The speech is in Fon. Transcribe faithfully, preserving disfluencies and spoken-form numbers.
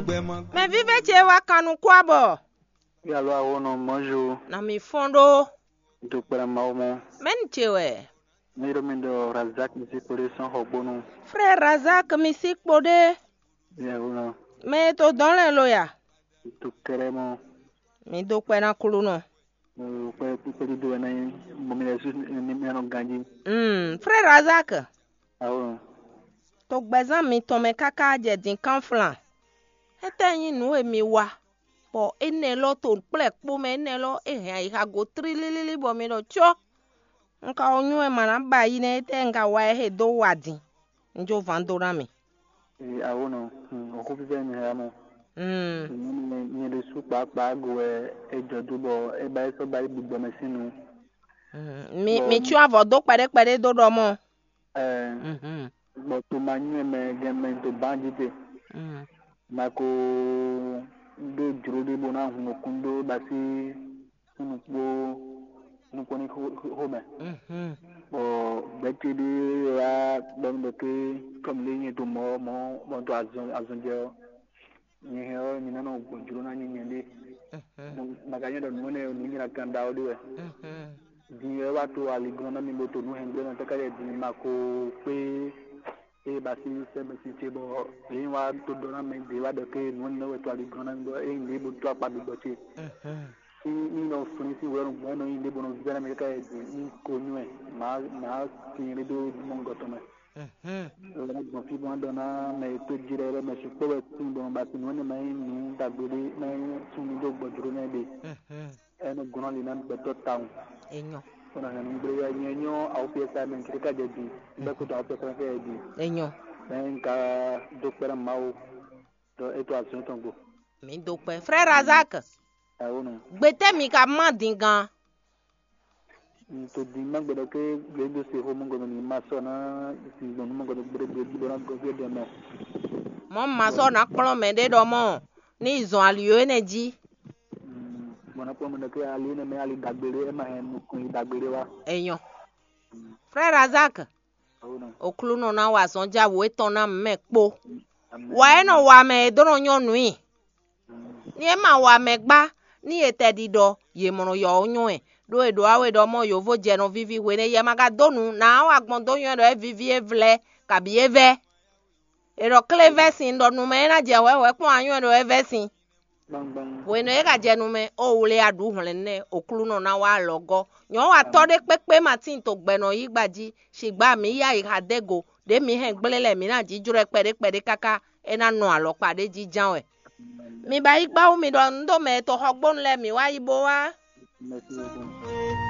Mɛ vívɛ́ ce wá kan nukún abɔ. Yalo awo nɔ mɔzu. Na mi fɔn ɖó. Do kpɛlɛ Mawu mɔ. Mɛni ce wɛ? Mi ɖo mi ɖɔ Razak mi si kpo ɖé sɔn xɔ gbónú. Frère Razak mi si kpo ɖé. Yalo nɔ. Mɛ e to dɔn lɛ lo ya? Do kɛlɛ mɔ. Mi do kpɛ na kulu nɔ. Kpɛ kpɛ ɖuɖu wɛ nɛ mɔ mi lɛ su ni mi anɔ ganji. Mm, frère Razak. Awo. To gbɛzán mitɔn mɛ káká jɛ din kánflan. Étɛ́ nyí nǔ e mi wa, bɔ énɛ́ lɔ to kplɛ́ kpó mɛ énɛ́ lɔ é hɛn ayixa go tlílílí bɔ mi ɖɔ có. Un ka wɔ nywɛ́ ma ná ba yi nɛ́, étɛ́ un ka wa ɛ he dó wa din? Un jó van dó ná mi. Ee, awo nɔ, hmm, o xó fífɛ́ mi hɛn mɔ. Hmm. Nyɛ ɖésú kpákpá go wɛ é jɔ dó bɔ é ba é sɔ́ ba yi gbigbɔ mɛ sín nu. Hmm. Mi Bɔ- mi tsyɔ́ avɔ dó kpɛɖé kpɛɖé dó ɖɔ mɔ. Ɛɛ, Mhm. Bɔ to ma nywɛ́ mɛ gɛn mɛ to bánjí te. Hmm. Ma ko ɖó jló ɖé bó ná hun nukún ɖó ba sí súnnu kpó nukún ní xó xó mɛ. Mhm. Bɔ gbɛ̌ ce ɖé wá ɖɔ nú ɖɔ ké kɔmi ɖé nyɛ to mɔ mɔ mɔ to azɔn azɔn jɛ ɔ́. Nyɛ hɛn ɔ́, nyɛ nɔ gbɔn jló ná nyɛ nyɛ ɖé. Mhm. Maka nyɛ ɖɔ nǔ énɛ́ nǔ nyɛ ná kan ɖa ɔ́ ɖé wɛ. Mhm. Din wɛ wá to aliglɔn ná mi bo to nǔ hɛngbé nɔ tɛ́ ká yɛ din ma ko kpé. Eye ba sí sɛ́ mɛ sín ce bɔ èyí wá to ɖɔ ná mɛ ɖě wá ɖɔ ké nǔ énɛ́ wɛ to aliglɔn ná mi bɔ eye ɖě bo to akpa gbigbɔ ce. Mhm. Ní ní nɔ flín sín wɛ̌nu gbɔn nɔ nyi ɖěbǔ nɔ vɛ́ nú mì káká e din ní ko nywɛ́ mǎ mǎ sin ɖé dó mɔ̌gɔtɔn mɛ. Mhm. Lɛ́ gbɔn fí bó ná ɖɔ ná mɛ e tó jí lɛ́ɛ lɛ́ɛ mɛ sukpɔ́ wɛ tín bɔ ba sin nǔ énɛ́ mɛ nyí nǔ ɖagbe ɖé mɛ nyí súnnu dó gbɔjló nɛ́ ɖe. Mhm. Ɛnú gɔ́n ali ná gbɛtɔ́ tawun. Enyɔ. Kó ná hɛn nú gblé wɛ nyɛ nyɔ́ awúfíɛsá mɛ ké ká jɛ din bɛ́ kútu awúfíɛsá mɛ ké jɛ din. Enyɔ. Mɛ ń ka dó kpɛ́ ná Mawu ɖɔ é tó azɔ̌ tɔn gbo. Mi do kpɛ. Frère Razak, Awo nɔ. Gbetɛ mi ka ma din gan. N to din ma gbɛdɔ ke gbɛdo se xo mɔgɔ mi ma sɔ na sin gbɔn mɔgɔ gbɛdɔ gbɛdɔ gbɛdɔ na gɔ gbɛdɔ nɔ. Mɔ ma sɔ na kplɔn mɛ ɖe ɖɔ mɔ ni zɔn ali yo ene ji. Bɔn na kpɔn mɛ ke ali ne mɛ ali dagbele e ma hɛn nukun yi dagbele wa. Enyɔ. Frère Razak, Awo nɔ. Oklunɔ na wa zɔn ja wo etɔn na mɛ kpo. Wa e nɔ wa mɛ e dó nɔ nyɔ́ nǔ i. Ni e ma wa mɛ gbá, ní e tɛ ɖiɖɔ, yě mlɔ yɔ ɔ́ nyɔ́ ɛ, ɖó è ɖǒ awe ɖɔ mɔ yǒvo jɛ nɔ víví hwenɛ́ yɛ ma ka dó nǔ, nǎ wa gbɔn dó nywɛ́ ɖɔ é víví é vlɛ́, kabǐ é vɛ́. È ɖɔ klé vɛ́ sin, ɖɔ nu mɛ é ná jɛ hwɛ̌hwɛ́ kpɔ́n anyɔ́ ɖɔ é vɛ́ sin. Hwenu e é ka jɛ nu mɛ, ó wlé aɖǔ hwlɛ̌n nɛ́, Oklunɔ ná wá alɔ gɔ́. Nyɔ̌ wa tɔ́ ɖé kpékpé ma tín to gbɛ nɔ yí gba jí, sigbá mǐ yá yi xa dé go, ɖě mǐ hɛn gblé lɛ́ɛ mǐ ná jǐjlɔ́ ɛ kpɛɖé kpɛɖé káká é ná nɔ alɔkpa ɖé jí ján wɛ. Mi ba yi gbá wú mi ɖɔ un ɖó mɛ e to xɔgbónu lɛ́ɛ mǐ wá yi bó wá.